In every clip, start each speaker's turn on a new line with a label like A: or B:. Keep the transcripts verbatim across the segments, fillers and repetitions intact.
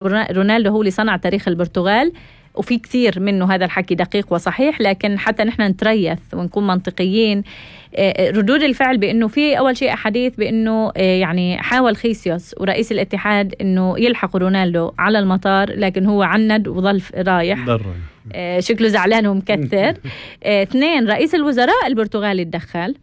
A: رونالدو هو اللي صنع تاريخ البرتغال، وفي كثير منه هذا الحكي دقيق وصحيح، لكن حتى نحن نتريث ونكون منطقيين. ردود الفعل بأنه في أول شيء أحاديث بأنه يعني حاول خيسيوس ورئيس الاتحاد أنه يلحق رونالدو على المطار، لكن هو عند وظل رايح، شكله زعلان ومكثر. اثنين، رئيس الوزراء البرتغالي تدخل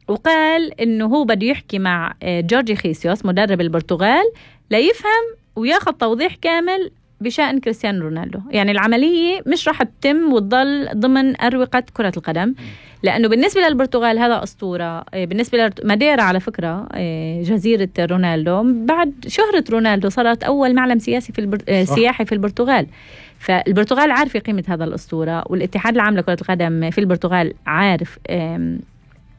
A: وقال أنه هو بده يحكي مع جورجي خيسيوس مدرب البرتغال ليفهم وياخذ توضيح كامل بشأن كريستيانو رونالدو. يعني العملية مش راح تتم وتضل ضمن أروقة كرة القدم، لأنه بالنسبة للبرتغال هذا أسطورة. بالنسبة لماديرا على فكرة جزيرة رونالدو بعد شهرة رونالدو صارت أول معلم سياسي في البر... سياحي في البرتغال. فالبرتغال عارفة قيمة هذا الأسطورة، والاتحاد العام لكرة القدم في البرتغال عارف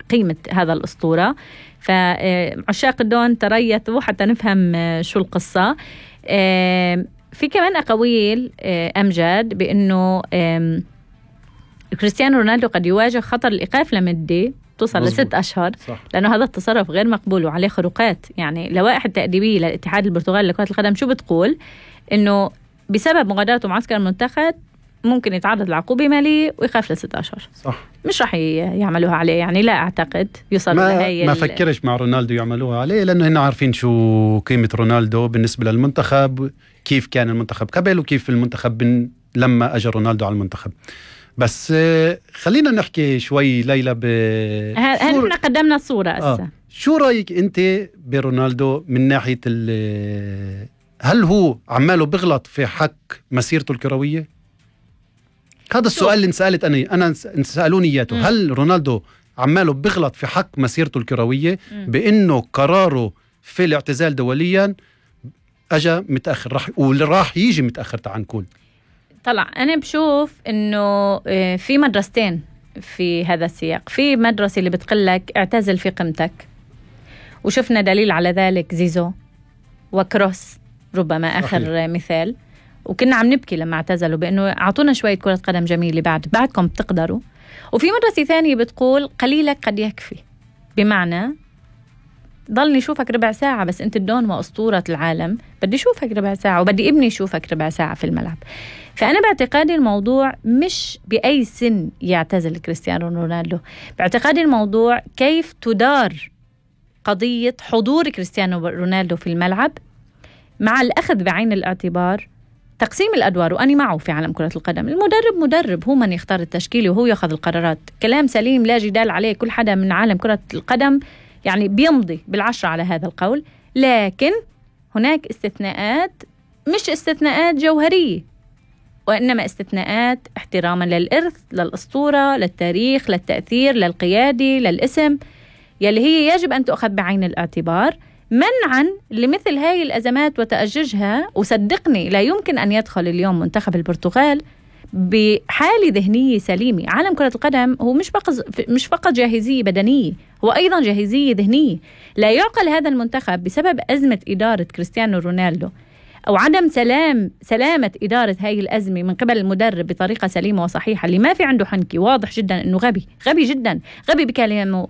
A: قيمة هذا الأسطورة. فعشاق الدون تريثوا حتى نفهم شو القصة. في كمان أقاويل أمجد بأنه كريستيانو رونالدو قد يواجه خطر الإيقاف لمدة توصل لست أشهر، صح. لأنه هذا التصرف غير مقبول وعليه خروقات. يعني لوائح التأديبية للاتحاد البرتغالي لكرة القدم شو بتقول؟ إنه بسبب مغادرته معسكر المنتخب ممكن يتعرض لعقوبة مالية ويخاف لست أشهر، صح. مش رح يعملوها عليه، يعني لا أعتقد يوصل
B: ما, ما فكرش مع رونالدو يعملوها عليه، لأنه هنا عارفين شو قيمة رونالدو بالنسبة للمنتخب، كيف كان المنتخب قبل وكيف المنتخب لما أجى رونالدو على المنتخب. بس خلينا نحكي شوي ليلى ب
A: هل احنا قدمنا الصورة أسا.
B: آه. شو رأيك أنت برونالدو من ناحية هل هو عماله بغلط في حق مسيرته الكروية؟ هذا السؤال اللي انسألت أنا أنا سألوني إياته. هل رونالدو عماله بغلط في حق مسيرته الكروية بأنه قراره في الاعتزال دوليا أجا متأخر، راح وراح يجي متأخر تعال نقول؟
A: طلع أنا بشوف إنه في مدرستين في هذا السياق. في مدرسة اللي بتقلك اعتزل في قيمتك، وشفنا دليل على ذلك زيزو وكروس ربما آخر صحيح. مثال، وكنا عم نبكي لما اعتزلوا بأنه أعطونا شوية كرة قدم جميلة بعد بعدكم بتقدروا. وفي مدرسة ثانية بتقول قليلك قد يكفي، بمعنى ضلني شوفك ربع ساعة بس أنت الدون وأسطورة العالم، بدي شوفك ربع ساعة وبدي ابني يشوفك ربع ساعة في الملعب. فأنا باعتقادي الموضوع مش بأي سن يعتزل كريستيانو رونالدو، باعتقادي الموضوع كيف تدار قضية حضور كريستيانو رونالدو في الملعب مع الأخذ بعين الاعتبار تقسيم الأدوار. وأني معه في عالم كرة القدم، المدرب مدرب، هو من يختار التشكيل وهو يأخذ القرارات. كلام سليم لا جدال عليه، كل حدا من عالم كرة القدم يعني بيمضي بالعشرة على هذا القول. لكن هناك استثناءات، مش استثناءات جوهرية وإنما استثناءات احتراما للإرث، للأسطورة، للتاريخ، للتأثير، للقيادي، للاسم، يلي هي يجب أن تأخذ بعين الاعتبار منعا لمثل هاي الأزمات وتأججها. وصدقني لا يمكن أن يدخل اليوم منتخب البرتغال بحالة ذهنية سليمة. عالم كرة القدم هو مش فقط مش فقط جاهزية بدنية، هو أيضا جاهزية ذهنية. لا يعقل هذا المنتخب بسبب أزمة إدارة كريستيانو رونالدو أو عدم سلام سلامة إدارة هاي الأزمة من قبل المدرب بطريقة سليمة وصحيحة، اللي ما في عنده حنكي، واضح جدا أنه غبي غبي جدا، غبي بكلامه،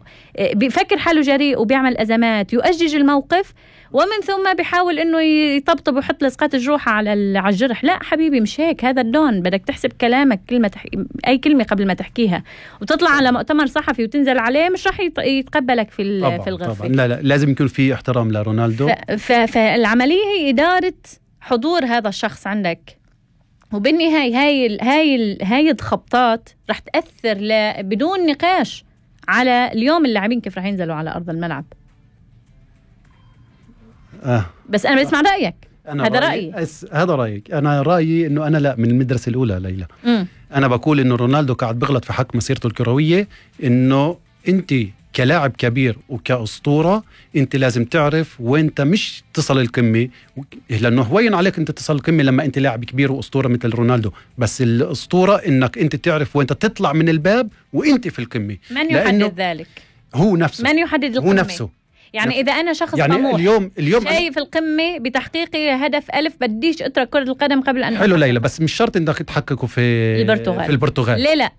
A: بيفكر حاله جريء وبيعمل أزمات، يؤجج الموقف ومن ثم بيحاول أنه يطبطب ويحط لصقات الجروح على الجرح. لا حبيبي مش هيك، هذا الدون. بدك تحسب كلامك، كلمة تح... أي كلمة قبل ما تحكيها، وتطلع على مؤتمر صحفي وتنزل عليه مش راح يتقبلك في
B: طبعًا
A: في الغرفة.
B: طبعًا. لا لا لازم يكون في احترام لرونالدو.
A: ف... ف... فالعملية هي إدارة حضور هذا الشخص عندك، وبالنهاية هاي هاي هاي الخبطات رح تأثر ل... بدون نقاش على اليوم اللاعبين كيف رح ينزلوا على أرض الملعب.
B: آه.
A: بس أنا بسمع رأيك. هذا رأيي.
B: أس... هذا رأيك. أنا رأيي إنه أنا لا من المدرسة الأولى ليلى. م. أنا بقول إنه رونالدو قاعد بغلط في حق مسيرته الكروية، إنه أنت كلاعب كبير وكأسطورة أنت لازم تعرف وين أنت مش تصل القمة، لأنه هوين عليك أنت تصل القمة لما أنت لاعب كبير وأسطورة مثل رونالدو، بس الأسطورة إنك أنت تعرف وين تطلع من الباب وأنت في القمة.
A: من يحدد ذلك؟
B: هو نفسه.
A: من يحدد القمة؟
B: هو نفسه.
A: يعني
B: نفسه.
A: إذا أنا شخص
B: يعني
A: طموح
B: اليوم اليوم
A: شايف القمة بتحقيق هدف ألف، بديش أترك كرة القدم قبل أن
B: حلو ليلى، بس مش شرط إنك تحققه في
A: البرتغال.
B: في البرتغال.
A: ليه لا؟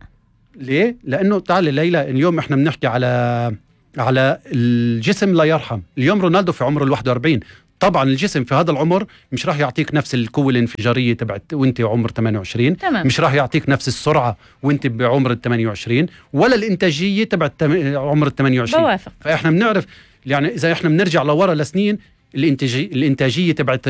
B: ليه؟ لأنه تعالي ليلى، اليوم إحنا بنحكي على على الجسم لا يرحم. اليوم رونالدو في عمره الواحد وأربعين، طبعا الجسم في هذا العمر مش راح يعطيك نفس القوة الانفجارية تبعت وانت عمر ثمانية وعشرين،
A: تمام.
B: مش راح يعطيك نفس السرعة وانت بعمر ال ثمانية وعشرين، ولا الانتاجية تبعت عمر ال ثمانية وعشرين.
A: بوافق.
B: فاحنا بنعرف يعني اذا احنا بنرجع لورا لسنين، الانتاجية الانتاجية تبعت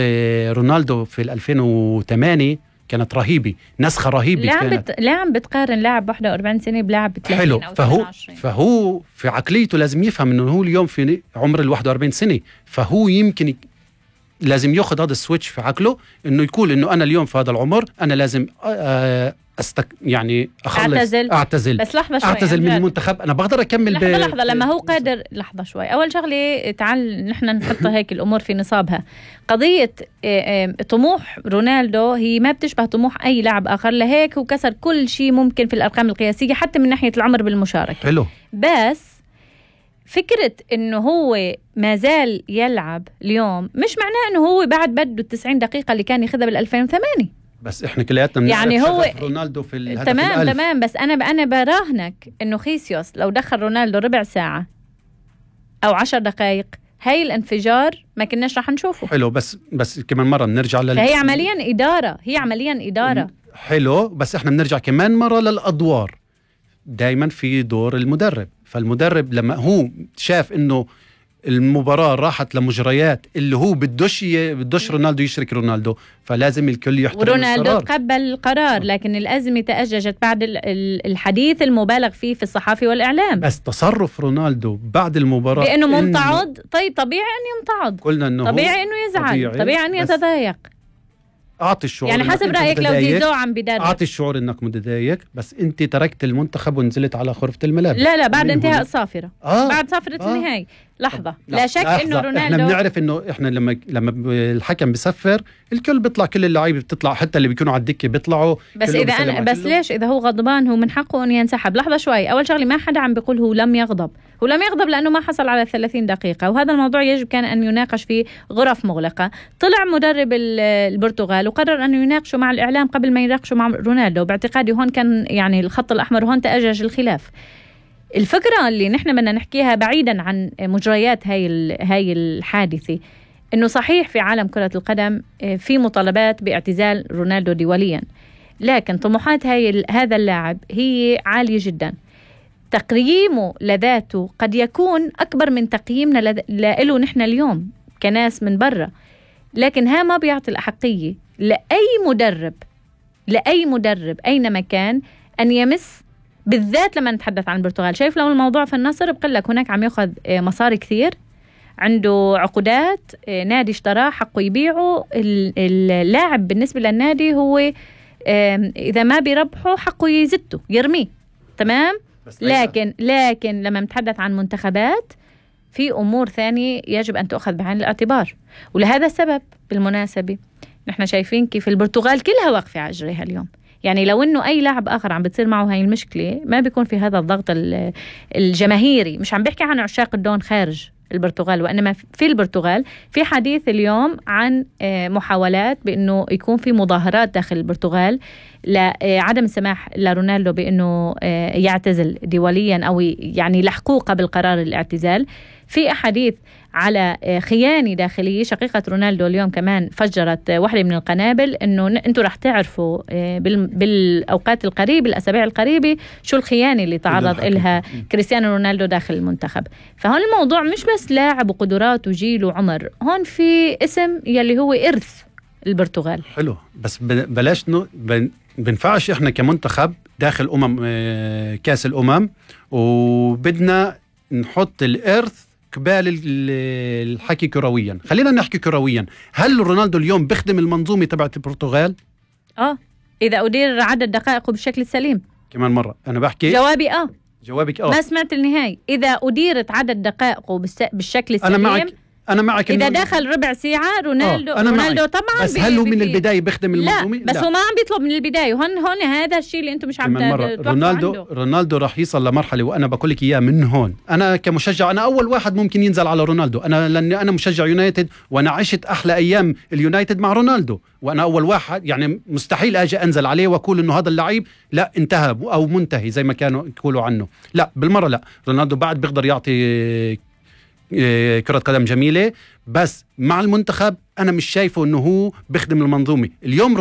B: رونالدو في ألفين وثمانية كانت رهيبة، نسخة رهيبة.
A: لا عم
B: كانت
A: بت... لا عم بتقارن لاعب واحد وأربعين سنة بلاعب ثلاثين
B: حلو.
A: أو
B: فهو
A: ثمانية وعشرين.
B: فهو في عقليته لازم يفهم انه هو اليوم في عمر ال واحد وأربعين سنة، فهو يمكن ي... لازم ياخذ هذا السويتش في عقله، انه يقول انه انا اليوم في هذا العمر انا لازم أستك... يعني اخلص
A: اعتزل.
B: اعتزل
A: بس لحظة شوي،
B: اعتزل من المنتخب. انا بقدر اكمل
A: لحظة
B: ب...
A: لحظة لما هو قادر. لحظة شوي، اول شغلة تعال نحن نحط هيك الامور في نصابها. قضية طموح رونالدو هي ما بتشبه طموح اي لاعب اخر، لهيك هو كسر كل شيء ممكن في الارقام القياسية حتى من ناحية العمر بالمشاركة.
B: حلو.
A: بس فكرة انه هو ما زال يلعب اليوم مش معناه انه هو بعد بده التسعين دقيقة اللي كان ياخذها بالألفين وثمانية.
B: بس احنا كلياتنا
A: يعني هو
B: رونالدو في الهدف
A: تمام
B: الألف.
A: تمام بس انا انا براهنك انه خيسيوس لو دخل رونالدو ربع ساعة او عشر دقائق هاي الانفجار ما كناش راح نشوفه.
B: حلو. بس بس كمان مرة بنرجع لل...
A: فهي عمليا إدارة، هي عمليا إدارة.
B: حلو. بس احنا بنرجع كمان مرة للأدوار. دايما في دور المدرب، فالمدرب لما هو شاف انه المباراة راحت لمجريات اللي هو بدوش ي... بدوش رونالدو يشرك رونالدو، فلازم الكل يحترم
A: ورونالدو
B: القرار.
A: تقبل القرار، لكن الأزمة تأججت بعد الحديث المبالغ فيه في الصحافة والإعلام.
B: بس تصرف رونالدو بعد المباراة
A: بأنه ممتعض. طيب طبيعي أن يمتعض،
B: قلنا انه
A: طبيعي أنه يزعل، طبيعي, طبيعي أن يتضايق.
B: أعطي الشعور
A: يعني حسب رأيك لو زيزو عم بدرب،
B: أعطي الشعور إنك متضايق، بس أنت تركت المنتخب ونزلت على غرفة الملابس.
A: لا لا بعد انتهاء الصافرة.
B: آه.
A: بعد صافرة
B: آه.
A: النهاية. لحظة. لا,
B: لا,
A: لا شك
B: لحظة.
A: إنه رونالدو
B: إحنا بنعرف إنه إحنا لما لما الحكم بيصفر الكل بيطلع، كل اللعيبة بتطلع، حتى اللي بيكونوا على الدكة بيطلعوا.
A: بس إذا أنا بس كله. ليش إذا هو غضبان هو من حقه أن ينسحب. لحظة شوي، أول شغلة ما حدا عم بيقول هو لم يغضب، هو لم يغضب لأنه ما حصل على ثلاثين دقيقة، وهذا الموضوع يجب كان أن يناقش في غرف مغلقة. طلع مدرب البرتغال وقرر أن يناقشوا مع الإعلام قبل ما يناقشوا مع رونالدو. باعتقادي هون كان يعني الخط الأحمر، وهون تأجج الخلاف. الفكرة اللي نحن بدنا نحكيها بعيدا عن مجريات هاي هاي الحادثة، إنه صحيح في عالم كرة القدم في مطالبات باعتزال رونالدو دوليا، لكن طموحات هاي هذا اللاعب هي عالية جدا. تقييمه لذاته قد يكون أكبر من تقييمنا له نحن اليوم كناس من برا، لكن ها ما بيعطي الأحقية لأي مدرب لأي مدرب أينما كان أن يمس، بالذات لما نتحدث عن البرتغال. شايف لو الموضوع في النصر بقول لك هناك عم يأخذ مصاري كثير، عنده عقودات، نادي اشتراه حقه يبيعه. اللاعب بالنسبة للنادي هو إذا ما بيربحه حقه يزته يرميه، تمام. لكن لكن لما نتحدث عن منتخبات في أمور ثانية يجب أن تأخذ بعين الاعتبار. ولهذا السبب بالمناسبة نحن شايفين كيف البرتغال كلها واقفة على أجريها اليوم. يعني لو إنه أي لاعب آخر عم بتصير معه هاي المشكلة ما بيكون في هذا الضغط الجماهيري. مش عم بحكي عن عشاق الدون خارج البرتغال، وإنما في البرتغال في حديث اليوم عن محاولات بأنه يكون في مظاهرات داخل البرتغال لعدم السماح لرونالدو بأنه يعتزل دوليا أو يعني لحقوه قبل قرار الاعتزال. في أحاديث على خيانة داخلية. شقيقة رونالدو اليوم كمان فجرت واحدة من القنابل إنه أنتوا رح تعرفوا بالأوقات القريبة الأسابيع القريبة شو الخيانة اللي تعرض إلها كريستيانو رونالدو داخل المنتخب. فهون الموضوع مش بس لاعب وقدرات وجيل وعمر، هون في اسم يلي هو إرث البرتغال.
B: حلو. بس بلاش نو بنفعش إحنا كمنتخب داخل أمم كاس الأمم وبدنا نحط الإرث قبال الحكي كرويا. خلينا نحكي كرويا. هل رونالدو اليوم بيخدم المنظومة تبعت البرتغال؟ آه
A: إذا أدير عدد دقائقه بالشكل السليم.
B: كمان مرة أنا بحكي
A: جوابي آه
B: جوابك آه
A: ما سمعت النهاية. إذا أديرت عدد دقائقه بالشكل السليم
B: أنا معك أنا معك
A: إذا دخل ربع ساعة رونالدو
B: أنا
A: رونالدو
B: معك.
A: طبعا
B: بس هل هو من البداية بيخدم المنظومة؟
A: لا بس لا. هو ما عم بيطلب من البداية. هون هون هذا الشيء اللي أنتم مش عم
B: توقعوا رونالدو عنده. رونالدو راح يصل لمرحلة، وأنا بقول لك إياه من هون. أنا كمشجع أنا أول واحد ممكن ينزل على رونالدو، أنا لأني أنا مشجع يونايتد وأنا عشت أحلى أيام اليونايتد مع رونالدو، وأنا أول واحد يعني مستحيل أجي أنزل عليه وأقول إنه هذا اللعيب لا انتهى أو منتهي زي ما كانوا يقولوا عنه. لا بالمرة لا. رونالدو بعد بيقدر يعطي كرة قدم جميلة، بس مع المنتخب أنا مش شايفه إنه هو بخدم المنظومة اليوم.